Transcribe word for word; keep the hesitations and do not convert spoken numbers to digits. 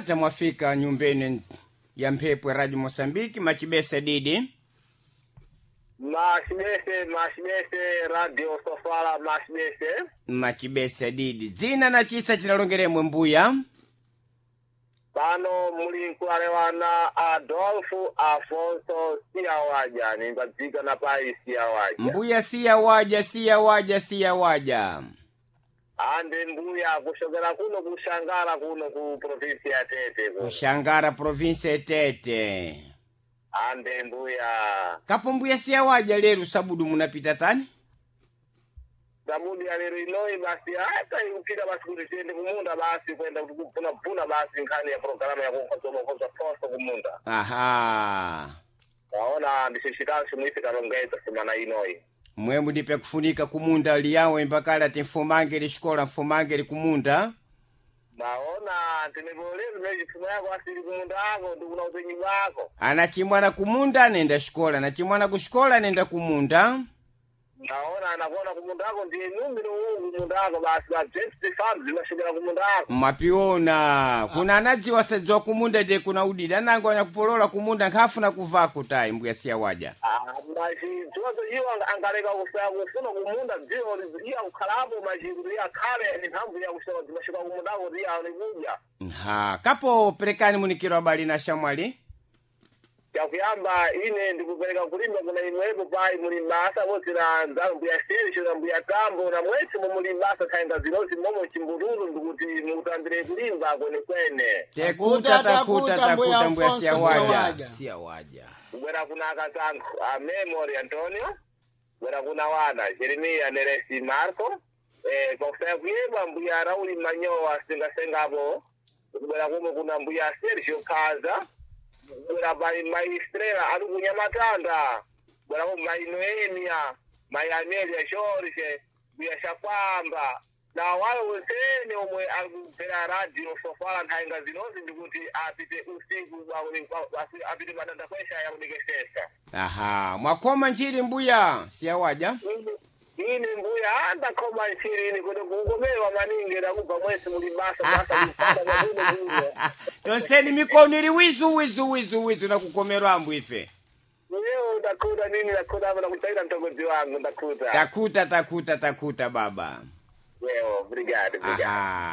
Adza mwafika nyumbeni ya mphepo ya Radio Mosambiki machibesa didi. Machibese, machibese, Radio Sofala, machibese. Machibesa didi. Dzina na chisa chinalongeremwe mbuya. Pano muli nkualewana Adolfo Afonso Siawaja, nimbadzika na pai Siawaja. Mbuya siya waja siya waja siya waja. Ande mbuya kushokera kuno kushangara kuno ku provinsi ya Tete kuno. Kushangara provinsi ya Tete. Ande mbuya. Kapo mbuya siya waja lero sabudu munapita tani? Sabudi ya lero inoi basi hata ikupita basi kuti tiende kumunda basi kwenda kuti kupuna puna basi nkhani ya programu ya kukonza poso kumunda. Aha. Waona ndishishikanso mwisi kalongeza semana inoi. Mwemwe ndipe kufunika kumunda liyawe mbakala timfumangeli xikola mfumangeli kumunda. Maona tinevolezi mechipfumo yako asili kumunda ako ndikuna upenyu bwako. Anachimwana kumunda anenda xikola, anachimwana kuxikola anenda kumunda. Naona anakuona kumunda ako ndiye numbi uwu kumunda ako basi ba James Farms zimashokera kumunda ako. Mwapiona kuna anadziwa sadziwa kumunda ndiye kuna udida anango anyakupolola kumunda nkhafuna kuvako tayi mbuya siya waja. Ah, machidziwazo iwo anga- angaleka kusaya kufuna kumunda dziwo iye akukhalapo machikuti iye akhale ni mphamvu ya kushoka zimashoka kumunda ako kuti iye aone kudya. Nha kapo perekani munikiro abali na shamwali. Yakuyamba ine ndikupereka kulimba kuna imwepo pai muli basa bose na nzalu mbuya Sergio na mbuya Tambo na mwese muli basa khaenga zinozi momo chimbululu ndikuti mukutambire kulimba kwenekwene. Tekuta takuta Takuta, mbuya takuta mbuya Alfonso siya waja. Siawaja. Siya waja. Kubwera kuna akasankho a Memory Antonio, kubwera kuna wana Jeremiah Neresi Marco, eh pakusaya kuyemba mbuya Rauli Manyowa sengasengapo, kubwera kumwe kuna mbuya Sergio Kaza, kubwera pai Maistrela ali kunyamatanda, kubwera kumwe mai Noemia, mai Amelia Jorge, mbuya Shakwamba, na wayo wensene omwe ali kumvera radio Sofala nthainga zinozi ndikuti apite usiku basi apite madanda kwesha yakudekesesa. Aha, mwakoma nchiri mbuya siya waja. Ini mbuya andakhoma nchiri ini kuti kukomewa maningi ndakubva mwesi muli basa basa kupanda makuno kuno. Tonseni mikono ili wizu wizu wizu wizu na kukomerwa ambu ife. Leo ndakhuta nini ndakhuta apa nakutaita mtongozi wangu ndakhuta. Takuta takuta takuta baba. Leo, obrigado, obrigado. Aha.